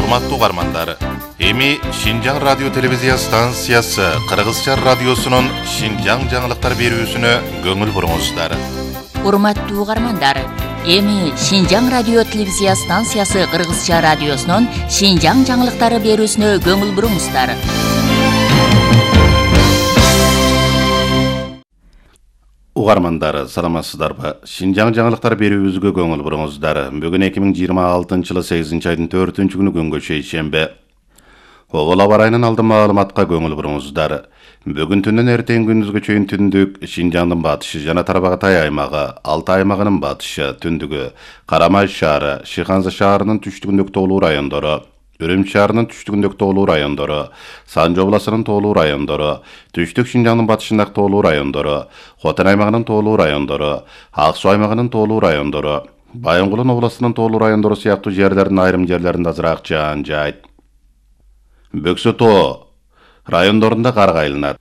Урматтуу угармандар, эми Шинжаң радио телевизия станциясы Кыргызча радиосунун Шинжаң жаңылыктар берүүсүнө көңүл буруңуздар. Урматтуу угармандар, эми Шинжаң радио телевизия станциясы Кыргызча радиосунун Шинжаң жаңылыктары берүүсүнө көңүл буруңуздар. Угармандар, саламатсыздарбы? Шинжаң жаңылыктар берүүбүзгө көңүл буруңуздар. Бүгүн 2026-жылы 8-айдын 4-күнү күнгө шейшембе. Обол аба ырайынын алдын маалыматка көңүл буруңуздар. Бүгүн түндөн эртең күндүзгө чейин түндүк Шинжаңдын батышы жана Тарбагатай аймагы, Алтай аймагынын батышы, түндүгү, Карамай шаары, Шыханза шаарынын түштүгүндөгү тоолуу райондору, Үрүмчү шаарынын түштүгүндөгү тоолуу райондору, Санжы областынын тоолуу райондору, Түштүк Шинжаңдын батышындагы тоолуу райондору, Хотон аймагынын тоолуу райондору, Ак Суу аймагынын тоолуу райондору, Байынгулун областынын тоолуу райондору сыяктуу жерлердин айрым жерлеринде азыраак жаан жаайт. Бөксө тоо райондорунда кар кайланат.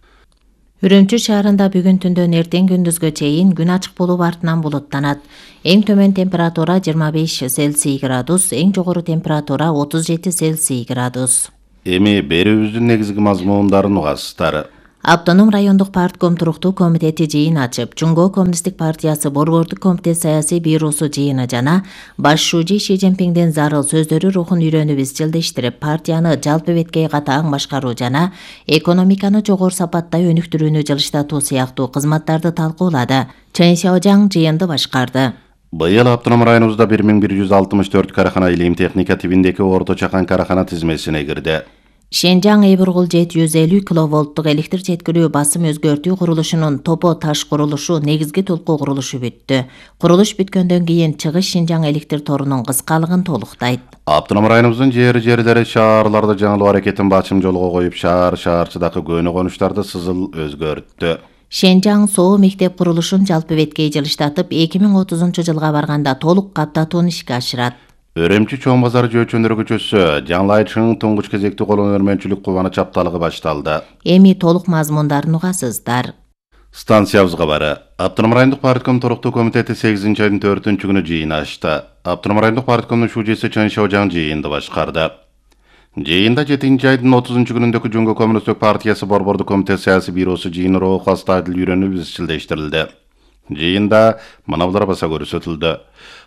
Үрүмчү шаарында бүгүн түндөн эртең күндүзгө чейин күн ачык болуп артынан булуттанат. Эң төмөн температура 25 Цельсий градус, эң жогору температура 37 Цельсий градус. Эми берүүбүздүн негизги мазмундарын угасыздар. Автоном райондук партком туруктуу комитети жыйын ачып, Жумго коммунисттик партиясы борбордук комитет саясий бюросу жыйыны жана баш шүүжи Ши Цзиньпиңдин зарыл сөздөрү рухун үйрөнүп изчилдештирип, партияны жалпы беткей катаң башкаруу жана экономиканы жогору сапатта өнүктүрүүнү жылыштатуу сыяктуу кызматтарды талкуулады. Чен Сяожаң жыйынды башкарды. Быйыл автоном районубузда 1164 карахана илим техника тибиндеги орто чакан карахана тизмесине кирди. Шинжаң Эбургул 750 киловолттук электр жеткирүү басым өзгөртүү курулушунун топо таш курулушу негизги толкуу курулушу бүттү. Курулуш бүткөндөн кийин чыгыш Шинжаң электр торунун кыскалыгын толуктайт. Автоном районубуздун жерлери шаарларда жаңылуу аракетин бачым жолго коюп, шаарчыдагы көөнө конуштарды сызыл өзгөрттү. Шинжаң Соо мектеп курулушун жалпы беткей жылыштатып, 2030-жылга барганда толук каттатууну ишке ашырат. Өрөмчү чоң базар жөөчөндөр көчөсү жаңылайчынын туңгуч кезекти колун өрмөнчүлүк кубаныч апталыгы башталды. Эми толук мазмундарын угасыздар. Станциябызга бары. Автоном райондук партком туруктуу комитети 8-айдын 4-күнү жыйын ачты. Автоном райондук парткомдун шүүжүсү Чен Сяожаң жыйынды башкарды. Жыйында 7-айдын 30-күнүндөгү Жумго коммунисттик партиясы борбордук комитет саясий бюросу жыйыны рухастадыл үйрөнүп изчилдештирилди. Жыйында мынабулар баса көрсөтүлдү.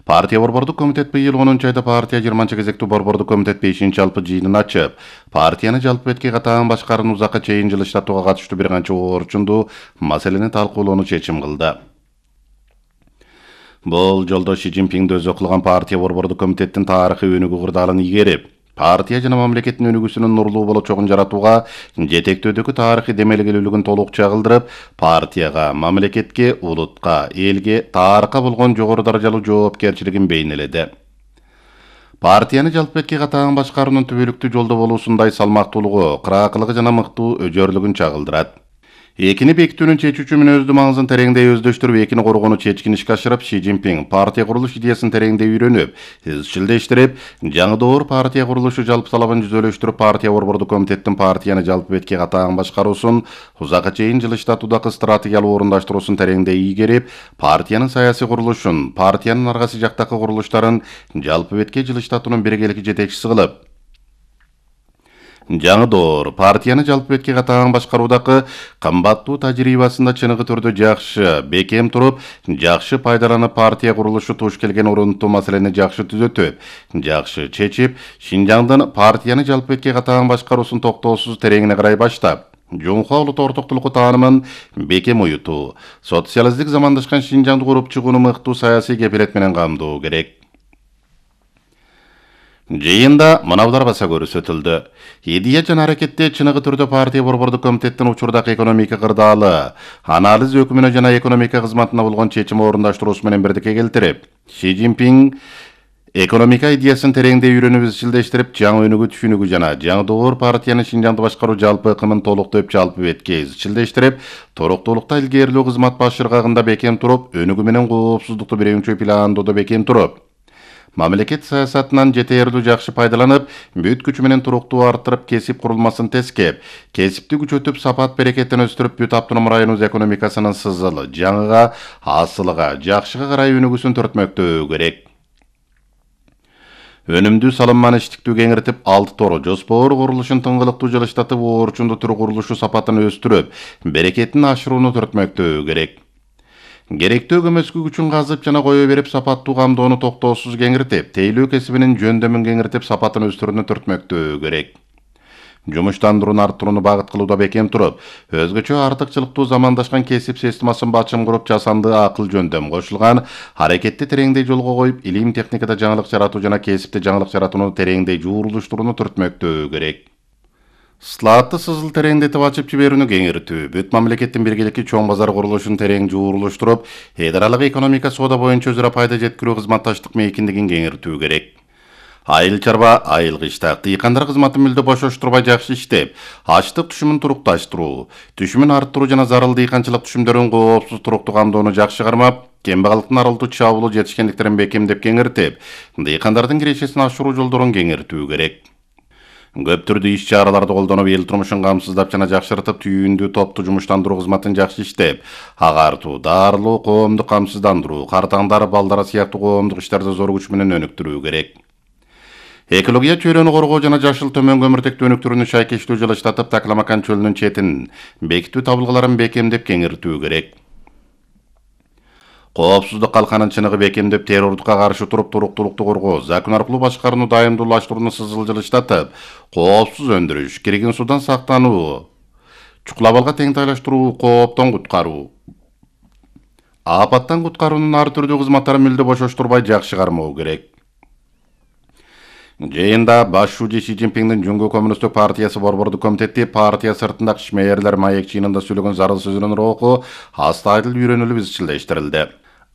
Партия борбордук комитет быйыл 10-айда партия 20 кезектүү борбордук комитет 5 жалпы жыйынын ачып, партияны жалпы беткей катаң башкарууну узакка чейин жылыштатууга катыштуу бир канча орчундуу маселени талкуулоону чечим кылды. Бул жолдо Ши Цзиньпиңди өзү кылган партия борбордук комитеттин тарыхый өнүгүү кырдаалын ийгерип, партия жана мамлекеттин өнүгүүсүнүн нурлуу болочогун жаратууга жетектөөдөгү тарыхый демелгелүүлүгүн толук чагылдырып, партияга, мамлекетке, улутка, элге, тарыхка болгон жогору даражалуу жоопкерчилигин бейнеледи. Партияны жалпы беткей катаң башкаруунун түбөлүктүү жолдо болуусундай салмактуулугу, кыраакылыгы жана мыктуу өжөрлүгүн чагылдырат. Экини бекитүүнүн чечүүчү мүнөздүү маңызын тереңдей өздөштүрүп, экини коргоону чечкин ишке ашырып, Ши Цзиньпиң партия курулуш идеясын тереңдей үйрөнүп, изчилдештирип, жаңы доор партия курулушу жалпы талабын жүзөлөштүрүп, партия борбордук комитеттин партияны жалпы беткей катаң башкаруусун узакка чейин жылыштатуудагы стратегиялык орундаштыруусун тереңдей ийгерип, партиянын саясий курулушун, партиянын аргасы жактагы курулуштарын жалпы беткей жылыштатуунун биргеликти жетекчиси кылып, жаңы доор партияны жалпы беткей катаң башкаруудагы кымбаттуу тажрыйбасында чыныгы түрдө жакшы бекем туруп, жакшы пайдаланып, партия курулушу туш келген орунтуу маселени жакшы түзөтүп, жакшы чечип, Шинжаңдын партияны жалпы беткей катаң башкаруусун токтоосуз тереңине карай баштап, Жумха улут ортоктулугу таанымын бекем уютуу, социалисттик замандашкан Шинжаңды куруп чыгууну мыктуу саясий кепилет менен камдоо керек. Жыйында мынабулар баса көрсөтүлдү. Идея жана аракетте чыныгы түрдө партия борбордук комитеттин учурдагы экономика кырдаалы, анализ өкүмүнө жана экономика кызматына болгон чечим орундаштыруусу менен бирдикке келтирип, Ши Цзиньпиң экономика идеясын тереңдей үйрөнүп изчилдештирип, жаңы өнүгүү түшүнүгү жана жаңы доор партияны Шинжаңды башкаруу жалпы ыкымын толуктоп, жалпы беткей изчилдештирип, туруктуулукта илгерилүү кызмат баш ыргагында бекем туруп, өнүгүү менен коопсуздукту биринчи пландоодо бекем туруп, мамлекет саясатынан жетерлүү жакшы пайдаланып, бүт күчү менен туруктуу арттырып, кесип курулмасын тескеп, кесипти күчөтүп, сапат берекетин өстүрүп, бүт автоном районубуз экономикасынын сызылы, жаңыга, асылыга, жакшыга карай өнүгүүсүн төртмөктөө керек. Өнүмдүү салымман иштиктүү кеңиртип, 6 тору жоспор курулушун тыңгылыктуу жылыштатып, оорчундуу түр курулушу сапатын өстүрүп, берекетин ашырууну түртмөктөө керек. Керектүү көмөскү күчүн казып жана кое берип, сапаттуу камдоону токтоосуз кеңиртип, тейлөө кесибинин жөндөмүн кеңиртип, сапатын өстүрүүнү түртмөктөө керек. Жумуштандырууну арттырууну багыт кылууда бекем туруп, өзгөчө артыкчылыктуу замандашкан кесип системасын бачым куруп, жасанды акыл жөндөм кошулган аракетти тереңдей жолго коюп, илим техникада жаңылык жаратуу жана кесипте жаңылык жаратууну тереңдей жуурулуштурууну түртмөктөө керек. Слаатты сызыл тереңдетип ачып жиберүүнү кеңиртүү, бүт мамлекеттин биргеликки чоң базар курулушун терең жуурулуштуруп, эл аралык экономика соода боюнча өзара пайда жеткирүү кызматташтык мейкиндигин кеңиртүү керек. Айыл чарба, айыл кыштак, дыйкандар кызматын мүлдө бошоштурбай жакшы иштеп, ачлык түшүмүн турукташтыруу, түшүмүн арттыруу жана зарыл дыйканчылык түшүмдөрүн коопсуз туруктуу камдоону жакшы кармап, кембагалыктын аралдуу чабуулу жетишкендиктерин бекемдеп кеңиртип, дыйкандардын кирешесин ашыруу жолдорун кеңиртүү керек. Көп түрдүү иш чараларды колдонуп, эл турмушун камсыздап жана жакшыртып, түйүндүү топту жумуштандыруу кызматын жакшы иштеп, агартуу, дарылоо, коомду камсыздандыруу, картаңдар, балдара сыяктуу коомдук иштерди зор күч менен өнүктүрүү керек. Экология чөйрөнү коргоо жана жашыл төмөн көмүртектүү өнүктүрүүнү шайкештүү жылыштатып, Такламакан чөлүнүн четин бекитүү табылгаларын бекемдеп кеңиртүү керек. Коопсуздук калканын чыныгы бекемдеп, террордукка каршы туруп, туруктуулукту коргоо, закон аркылуу башкарууну дайымдуулаштырууну сызыл жылыштатып, коопсуз өндүрүш, кирген судан сактануу, чукулабалга теңтайлаштыруу, кооптон куткаруу, апаттан куткаруунун ар түрдүү кызматтарын мүлдө бошоштурбай жакшы кармоо керек. Жыйында баш шууji Си Цзиньпиңдин Жуңгу Коммунисттик партиясы борбордук комитети партия сыртындагы ишмээрлер маек жыйынында сүйлөгөн зарыл сөзүнүн руху астайыл үйрөнүлүп изчилдештирилди.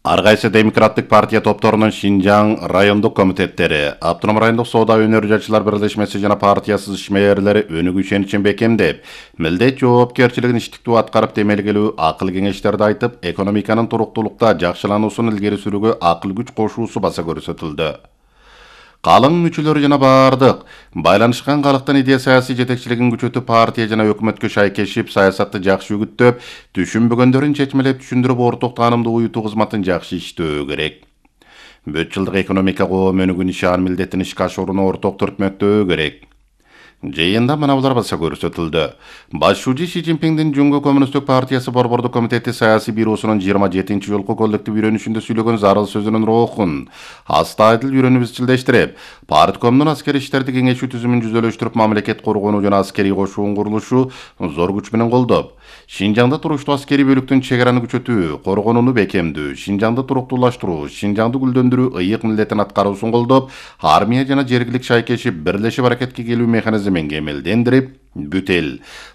Ар кайсы демократтык партия топторунун Шинжаң райондук комитеттери, Автоном райондук соода өнөр жашчылар бирлешмеси жана партиясыз ишмээрлери өнүгүү ишеничин бекемдеп, милдет жоопкерчилигин иштиктүү аткарып, темелгелүү акыл кеңештерди айтып, экономиканын туруктуулукта жакшылануусун илгери сүрүүгө акыл күч кошуусу баса көрсөтүлдү. Калың мүчөлөрү жана бардык байланышкан калктын идея саясий жетекчилигин күчөтүп, партия жана өкмөткө шайкешип, саясатты жакшы үгүттөп, түшүнбөгөндөрүн чечмелеп түшүндүрүп, орток таанымды уютуу кызматын жакшы иштөө керек. Бүт жылдык экономика коом өнүгүү нишан милдеттин ишке ашырууну орток түртмөктөө керек. Жыйында мына булар баса көрсөтүлдү. Баш шууji Си Цзиньпиңдин Жуңгу Коммунисттик партиясы борбордук комитети саясий бюросунун 27 жолку коллектив үйрөнүшүндө сүйлөгөн зарыл сөзүнүн рухун астайыл үйрөнүп изчилдештирип, парткомдун аскери иштерди кеңешүү түзүмүн жүзөлөштүрүп, мамлекет коргонуу жана аскерий кошуун курулушу зор күч менен колдоп, Шинжаңда туруштуу аскерий бөлүктүн чегараны күчөтүү, коргонууну бекемдүү, Шинжаңды туруктуулаштыруу, Шинжаңды гүлдөндүрүү ыйык милдеттин аткаруусун колдоп, армия жана жергилик шайкешип, бирлешип аракетке келүү механизмин кемелдендирип, бүт эл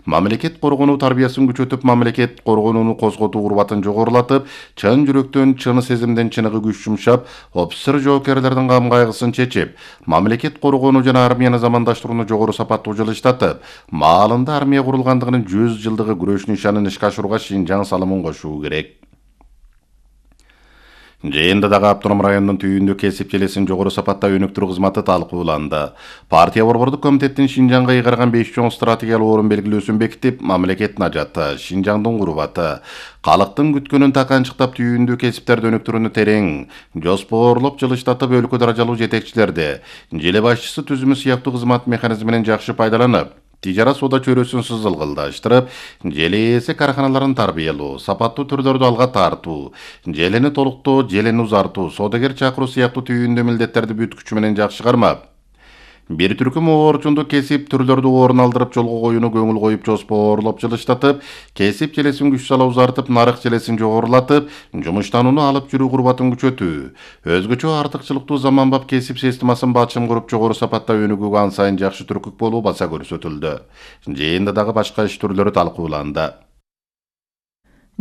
мамлекет коргонуу тарбиясын күчөтүп, мамлекет коргонууну козготуу урбатын жогорулатып, чын жүрөктөн, чын сезимден чыныгы күч жумшап, офицер жоокерлердин кам кайгысын чечип, мамлекет коргонуу жана армияны замандаштырууну жогору сапаттуу жылыштатып, маалында армия курулгандыгынын 100 жылдыгы күрөш нишанын ишке ашырууга Шинжаң салымын кошуу керек. Жыйында дагы Автоном районунун түйүндүү кесип желесин жогору сапатта өнүктүрүү кызматы талкууланды. Партия борбордук комитеттин Шинжаңга ыйгарган 5 чоң стратегиялык орун белгилөөсүн бекитип, мамлекеттин ажаты, Шинжаңдын курбаты, калктын күткөнүн таканчыктап, түйүндүү кесиптерди өнүктүрүүнү терең жоспорлоп жылыштатып, өлкө даражалуу жетекчилерди, желе башчысы түзүмү сыяктуу кызмат механизминен жакшы пайдаланып, тижара соода чөйрөсүн сызылгылдаштырып, желе ээси караханаларын тарбиялоо, сапаттуу түрлөрдү алга тартуу, желени толуктоо, желени узартуу, соодагер чакыруу сыяктуу түйүндүү милдеттерди бүт күчү менен жакшы кармап, бир түркүм оорчундуу кесип түрлөрдү орун алдырып жолго коюуну көңүл коюп, жоспорлоп жылыштатып, кесип желесин күч сала узартып, нарык желесин жогорулатып, жумуштанууну алып жүрүү курбатын күчөтүү, өзгөчө артыкчылыктуу заманбап кесип системасын бачым куруп, жогору сапатта өнүгүүгө ан сайын жакшы түркүк болуу баса көрсөтүлдү. Жыйында дагы башка иш түрлөрү талкууланды.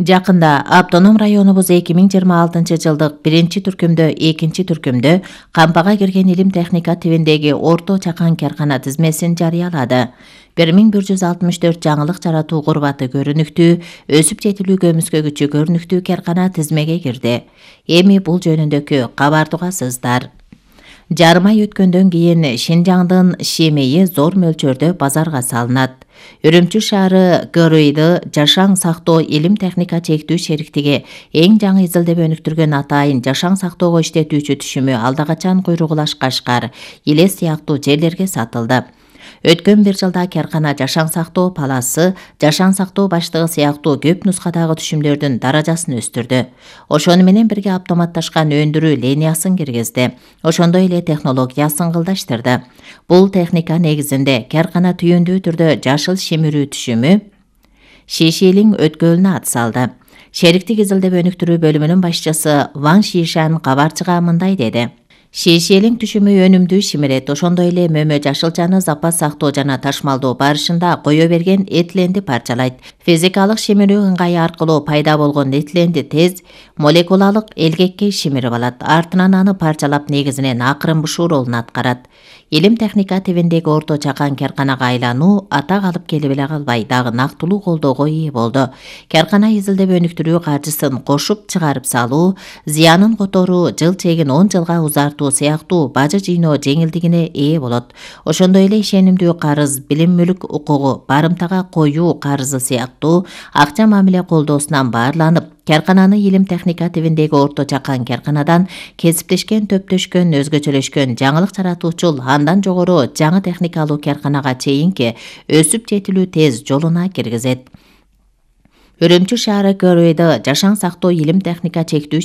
Жакында Автоном районубуз 2026 жылдык 1-түркүмдө, 2-түркүмдө кампага кирген илим техника тибиндеги орто чакан каркана тизмесин жарыялады. 1164 жаңылык жаратуу курбаты көрүнүктүү, өсүп жетилүү көмүскө күчү көрүнүктүү каркана тизмеге кирди. Эми бул жөнүндөгү кабар тугасыздар. Жарым ай өткөндөн кийин Шинжаңдын шемейи зор мөлчөрдө базарга салынат. Үрүмчү шаары ГРУйду жашаң сактоо илим техника чектүү шериктиги эң жаңы изилдеп өнүктүргөн атайын жашаң сактоого иштетүүчү түшүмү алда качан Куйругулаш, Кашкар, Илес сыяктуу жерлерге сатылды. Өткөн бир жылда Керкана жашаң сактоо паласы, жашаң сактоо баштыгы сыяктуу көп нускадагы түшүмдөрдүн даражасын өстүрдү. Ошону менен бирге автоматташкан өндүрүү линиясын киргизди. Ошондой эле технологиясын кылдаштырды. Бул техника негизинде Керкана түйүндүү түрдө жашыл шимирүү түшүмү Шишилиң өткөлүнө ат салды. Шериктик изилдеп өнүктүрүү бөлүмүнүн башчысы Ван Шишан кабарчыга мындай деди. Шишилиң түшүмү өнүмдүү шимирет, ошондой эле мөмө жашылчаны запас сактоо жана ташмалдоо барышында кое берген этиленди парчалайт. Физикалык шимирүү ыңгайы аркылуу пайда болгон этиленди тез молекулалык элгекке шимирип алат. Артынан аны парчалап негизинен акырын бушуу ролун аткарат. Илим техника тибиндеги орто чакан Керканага айлануу атак алып келип эле калбай, дагы нактылуу колдоого ээ болду. Керкана изилдеп өнүктүрүү каржысын кошуп чыгарып салуу, зыянын которуу, жыл чегин 10 жылга узартуу сыяктуу бажы жыйноо жеңилдигине ээ болот. Ошондой эле ишенимдүү карыз, билим мүлк укугу, барымтага коюу карызы сыяктуу акча мамиле колдоосунан баарланып, Керкананы илим техника тибиндеги орто чакан Керканадан кесиптешкен, төптөшкөн, өзгөчөлөшкөн, жаңылык жаратуучул, андан жогору жаңы техникалуу Керканага чейинки өсүп жетилүү тез жолуна киргизет. Үрүмчү шаары ГРУйду жашаң сактоо илим техника чектүү